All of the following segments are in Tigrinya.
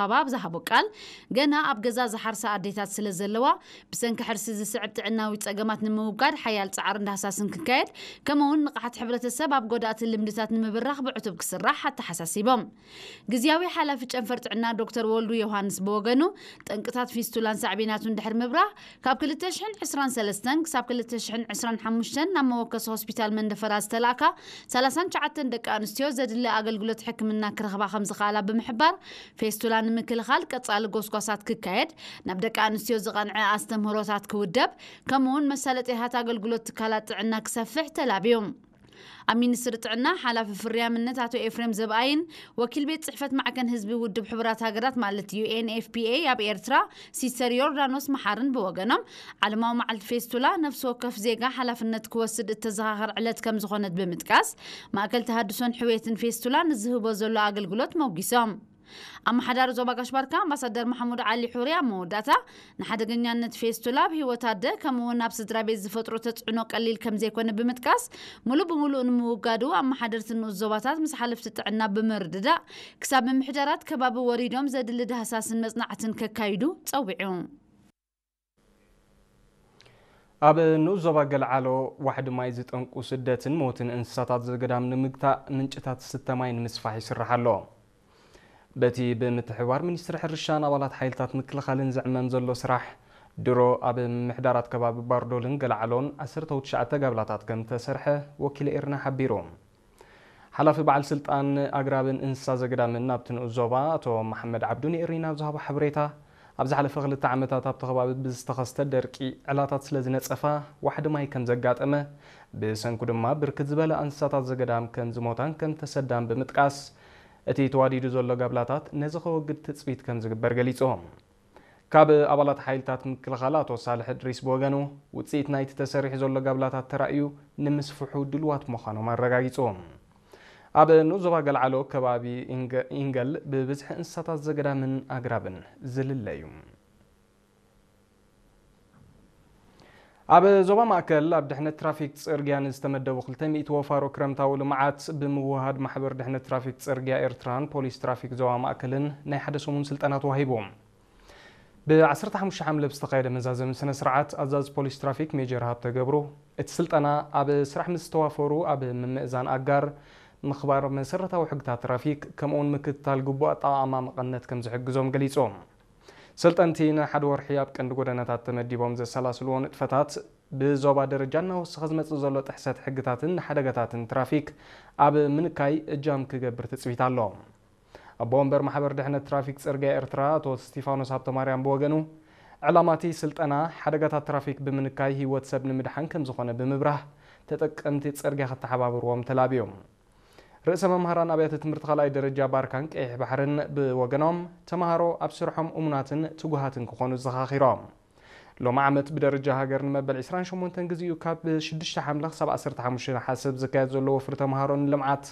ኣበባ ኣብ ዝሃቦ ቃል፣ ገና ኣብ ገዛ ዝሓርሳ ኣዴታት ስለ ዘለዋ፣ ብሰንኪ ሕርሲ ዝስዕብ ጥዕናዊ ጸገማት ንምውጋድ ሓያል ጻዕርን ዳህሳስን ክካየድ፣ ከምኡ እውን ንቕሓት ሕብረተሰብ ኣብ ጎዳእቲ ልምድታት ንምብራኽ ብዕቱብ ክስራሕ ኣተሓሳሲቦም። ግዝያዊ ሓላፊ ጨንፈር ጥዕና ዶክተር ወልዱ ዮሃንስ ብወገኑ፣ ጠንቅታት ፊስቱላን ሳዕቤናቱን ድሕሪ ምብራህ፣ ካብ ክልተ ሽሕን ዕስራን ሰለስተን ክሳብ ክልተ ሽሕን ዕስራን ሓሙሽተን ናብ መወከሲ ሆስፒታል መንደፈራ ዝተላእካ ሰላሳን ትሽዓተን ደቂ ኣንስትዮ ዘድሊ ኣገልግሎት ሕክምና ክረኽባ ከም ዝኽኣላ ብምሕባር፣ ፌስቱላ ንምክልኻል ቀጻሊ ጎስጓሳት ክካየድ፣ ናብ ደቂ ኣንስትዮ ዝቐንዐ ኣስተምህሮታት ክውደብ፣ ከምኡውን መሳለጥያታት ኣገልግሎት ትካላት ጥዕና ክሰፍሕ ተላብዩ። ኣብ ሚኒስትሪ ጥዕና ሓላፊ ፍርያምነት ኣቶ ኤፍሬም ዘብኣይን ወኪል ቤት ጽሕፈት ማዕከን ህዝቢ ውድብ ሕቡራት ሃገራት ማለት ዩ ኤን ኤፍ ፒ ኤ ኣብ ኤርትራ ሲስተር ዮርዳኖስ መሓርን ብወገኖም፣ ዓለማዊ መዓልቲ ፌስቱላ ነፍሲ ወከፍ ዜጋ ሓላፍነት ክወስድ እተዘኻኸር ዕለት ከም ዝኾነት ብምጥቃስ፣ ማእከል ተሃድሶን ሕውየትን ፌስቱላ ንዝህቦ ዘሎ ኣገልግሎት መጒሶም። ኣመሓዳሪ ዞባ ጋሽ ባርካ ኣምባሳደር መሓሙድ ዓሊ ሑሪ ኣብ መወዳእታ፣ ንሓደገኛነት ፌስቱላ ኣብ ህይወት ኣደ ከምኡ እውን ኣብ ስድራ ቤት ዝፈጥሮ ተጽዕኖ ቀሊል ከም ዘይኮነ ብምጥቃስ፣ ሙሉእ ብምሉእ ንምውጋዱ ኣመሓደርቲ ንኡስ ዞባታት ምስ ሓለፍቲ ጥዕና ብምርድዳእ፣ ክሳብ ምምሕዳራት ከባቢ ወሪዶም ዘድሊ ዳህሳስን መጽናዕትን ከካይዱ ጸዊዑ። ኣብ ንኡስ ዞባ ገልዓሎ ዋሕዲ ማይ ዝጠንቁ ስደትን ሞትን እንስሳታት ዘገዳም ንምግታእ ምንጭታት ዝስተ ማይ ንምስፋሕ ይስራሕ ኣሎ። በቲ ብምትሕብባር ሚኒስትሪ ሕርሻን ኣባላት ሓይልታት ምክልኻልን ዝዕመም ዘሎ ስራሕ፣ ድሮ ኣብ ምምሕዳራት ከባቢ ባርዶልን ገልዓሎን ዓሰርተ ትሽዓተ ጋብላታት ከም ተሰርሐ ወኪል ኤርና ሓቢሩ። ሓላፊ በዓል ስልጣን ኣግራብን እንስሳ ዘገዳምን ናብቲ ንኡስ ዞባ ኣቶ መሓመድ ዓብዱ ንኤሪና ኣብ ዝሃቦ ሓበሬታ፣ ኣብ ዝሓለፈ ክልተ ዓመታት ኣብቲ ከባቢ ብዝተኸስተ ደርቂ ዕላታት ስለ ዝነጸፋ ዋሕዲ ማይ ከም ዘጋጠመ፣ ብሰንኩ ድማ ብርክት ዝበላ እንስሳታት ዘገዳም ከም ዝሞታን ከም ተሰዳን ብምጥቃስ፣ እቲ ተዋዲዱ ዘሎ ጋብላታት ነዚ ከወግድ ትጽቢት ከም ዝግበር ገሊጹ። ካብ ኣባላት ሓይልታት ምክልኻል ኣቶ ሳልሕ እድሪስ ብወገኑ፣ ውጽኢት ናይቲ ተሰሪሑ ዘሎ ጋብላታት ተራእዩ ንምስፍሑ ድልዋት ምዃኖም ኣረጋጊጹ። ኣብ ንኡስ ዞባ ገልዓሎ ከባቢ ኢንገ-፣ ኢንገል ብብዝሒ እንስሳታት ዘገዳምን ኣግራብን ዝልለ እዩ። ኣብ ዞባ ማእከል ኣብ ድሕነት ትራፊክ ጽርግያ ንዝተመደቡ ክልተ ሚእቲ ወፋሮ ክረምታዊ ልምዓት ብምውሃድ ማሕበር ድሕነት ትራፊክ ጽርግያ ኤርትራን ፖሊስ ትራፊክ ዞባ ማእከልን ናይ ሓደ ሰሙን ስልጠና ተዋሂቡ። ብ ዓሰርተ ሓሙሽተ ሓምለ ብዝተኻየደ መዛዘሚ ስነ ስርዓት ኣዛዚ ፖሊስ ትራፊክ ሜጀር ሃብተ ገብሩ፣ እቲ ስልጠና ኣብ ስራሕ ምስ ዝተዋፈሩ ኣብ ምምእዛን ኣጋር፣ ምኽባር መሰረታዊ ሕግታት ትራፊክ፣ ከምኡውን ምክትታል ግቡእ ኣጠቓቕማ መቐነት ከም ዝሕግዞም ገሊጹ። ሰልጠንቲ ንሓደ ወርሒ ኣብ ቀንዲ ጎደናታት ተመዲቦም ዘሰላስልዎ ንጥፈታት፣ ብዞባ ደረጃ እናወሰኸ ዝመጽእ ዘሎ ጥሕሰት ሕግታትን ሓደጋታትን ትራፊክ ኣብ ምንካይ እጃም ክገብር ትጽቢት ኣሎ። ኣቦ ወንበር ማሕበር ድሕነት ትራፊክ ጽርግያ ኤርትራ ኣቶ ስቲፋኖስ ሃብተማርያም ብወገኑ፣ ዕላማ እቲ ስልጠና ሓደጋታት ትራፊክ ብምንካይ ህይወት ሰብ ንምድሓን ከም ዝኾነ ብምብራህ፣ ተጠቀምቲ ጽርግያ ክተሓባበርዎም ተላብዮም። ርእሰ መምህራን ኣብያተ ትምህርቲ ካልኣይ ደረጃ ባርካን ቀይሕ ባሕርን ብወገኖም፣ ተምሃሮ ኣብ ስርሖም እሙናትን ትጉሃትን ክኾኑ ዘኻኺሮም። ሎሚ ዓመት ብደረጃ ሃገር ንመበል ዕስራን ሸሞንተን ግዜኡ ካብ ሽዱሽተ ሓምለ ክሳብ ዓሰርተ ሓሙሽተ ነሓሰ ኣብ ዝካየድ ዘሎ ወፍሪ ተምሃሮ ንልምዓት፣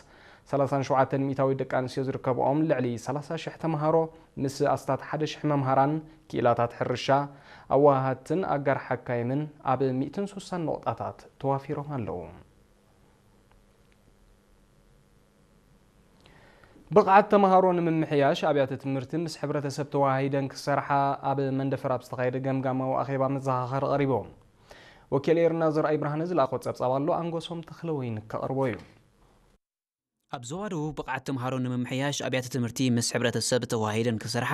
ሰላሳን ሸውዓተን ሚእታዊት ደቂ ኣንስትዮ ዝርከብኦም ልዕሊ ሰላሳ ሽሕ ተምሃሮ ምስ ኣስታት ሓደ ሽሕ መምሃራን፣ ክኢላታት ሕርሻ፣ ኣወሃሃድትን ኣጋር ሓካይምን ኣብ ሚእትን ሱሳን ነቑጣታት ተዋፊሮም ኣለዉ። ብቕዓት ተምሃሮ ንምምሕያሽ ኣብያተ ትምህርቲ ምስ ሕብረተሰብ ተወሃሂደን ክሰርሓ ኣብ መንደፈራ ኣብ ዝተኻየደ ገምጋማዊ ኣኼባ መዘኻኸሪ ቀሪቡ። ወኪል ኤርና ዘርኣይ ብርሃነ ዝለኣኾ ጸብጻብ ኣሎ፣ ኣንጎሶም ተኽለወይኒ ከቕርቦ እዩ። ኣብ ዞባ ደቡብ ብቕዓት ተምሃሮ ንምምሕያሽ ኣብያተ ትምህርቲ ምስ ሕብረተሰብ ተወሃሂደን ክሰርሓ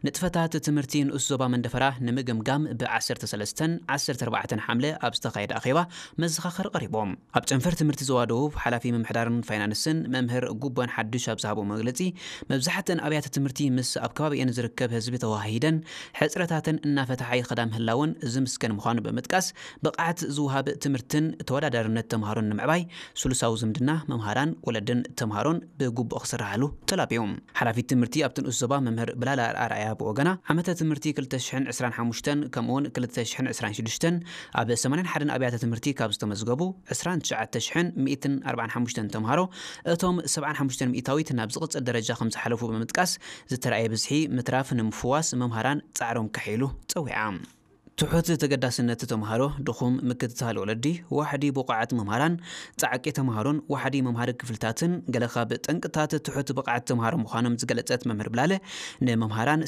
ንጥፈታት ትምህርቲ ንኡስ ዞባ መንደፈራ ንምግምጋም ብ ዓሰርተ ሰለስተን ዓሰርተ ኣርባዕተን ሓምለ ኣብ ዝተኻየደ ኣኼባ መዘኻኸሪ ቀሪቦም። ኣብ ጨንፈር ትምህርቲ ዞባ ደቡብ ሓላፊ ምምሕዳርን ፋይናንስን መምህር ጉቦን ሓዱሽ ኣብ ዝሃቦ መግለጺ፣ መብዛሕትአን ኣብያተ ትምህርቲ ምስ ኣብ ከባቢአን ዝርከብ ህዝቢ ተወሃሂደን ሕጽረታተን እናፈትሓ ይኸዳ ምህላወን ዝምስገን ምዃኑ ብምጥቃስ፣ ብቕዓት ዝወሃብ ትምህርትን ተወዳዳርነት ተምሃሮን ንምዕባይ ስሉሳዊ ዝምድና መምሃራን፣ ወለድን ተምሃሮን ብግቡእ ክስራሓሉ ተላብዮም። ሓላፊት ትምህርቲ ኣብቲ ንኡስ ዞባ መምህር ብላላ ኣርኣያ ብወገና፣ ዓመተ ትምህርቲ ክልተ ሽሕን ዕስራን ሓሙሽተን ከምኡውን ክልተ ሽሕን ዕስራን ሽዱሽተን ኣብ ሰማንያን ሓደን ኣብያተ ትምህርቲ ካብ ዝተመዝገቡ ዕስራን ትሽዓተ ሽሕን ሚእትን ኣርባዓን ሓሙሽተን ተምሃሮ፣ እቶም ሰብዓን ሓሙሽተን ሚእታዊት ናብ ዝቕጽል ደረጃ ከም ዝሓለፉ ብምጥቃስ፣ ዝተራእየ ብዝሒ ምትራፍ ንምፍዋስ መምሃራን ጻዕሮም ከሕይሉ ጸዊዓ። ትሑት ተገዳስነት ተምሃሮ፣ ድኹም ምክትታል ወለዲ፣ ዋሕዲ ብቑዓት መምሃራን፣ ጻዕቂ ተምሃሮን ዋሕዲ መምሃሪ ክፍልታትን ገለ ካብ ጠንቅታት ትሑት ብቕዓት ተምሃሮ ምዃኖም ዝገለጸት መምህር ብላለ፣ ንመምሃራን